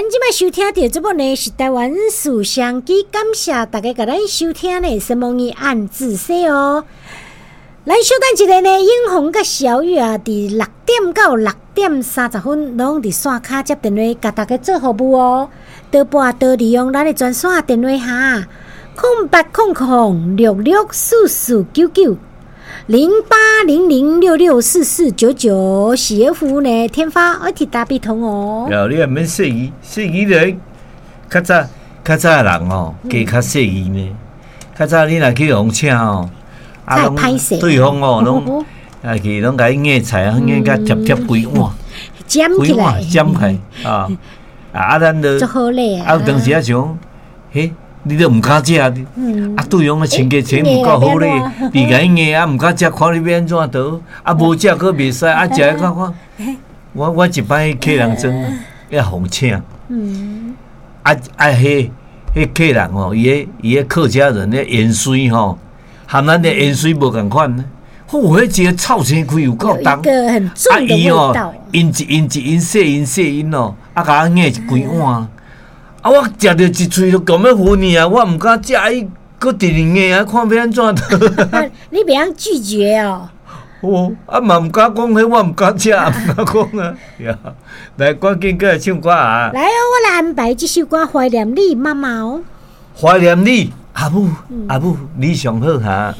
咱這擺收聽著節目呢，是台灣事相機，感謝大家共咱收聽呢，什麼伊按自說哦。咱小等一下呢，英紅佮小雨啊，佇6點到6點30分，攏佇線跤接電話，共大家做服務哦。多撥多利用咱的專線電話哈，0800664499，0800664499，是的服務呢，天發愛提大必通哦。了，你也免細意，細意咧，較早較早的人吼，加較細意呢。較早你若去予請吼，啊，攏對方哦，攏啊去攏共伊硬菜啊，硬共貼貼規碗，規碗占起來啊啊！咱就啊，有當時啊想，彼。你都毋敢食，啊對方的親家錢毋夠好咧，你共伊硬啊毋敢食，看你欲按怎倒，啊無食閣袂使，啊食看看，我一擺客人庄欲予請，啊啊彼彼客人吼，伊彼客家人的芫荽吼，和咱的芫荽無仝款，吼，彼一个臭腥氣有夠重，啊伊吼，𪜶一𪜶一𪜶細𪜶細𪜶哦，啊共我硬一規碗。啊！我食著一喙就講欲昏去啊！我毋敢食，伊閣直直硬啊，看欲按怎。你袂曉拒絕哦。哦，啊嘛毋敢講彼，我毋敢食，毋敢講啊。來，趕緊過來唱歌啊！來哦，我來安排這首歌《懷念你媽媽》哦。懷念你，阿母，阿母，你上好哈。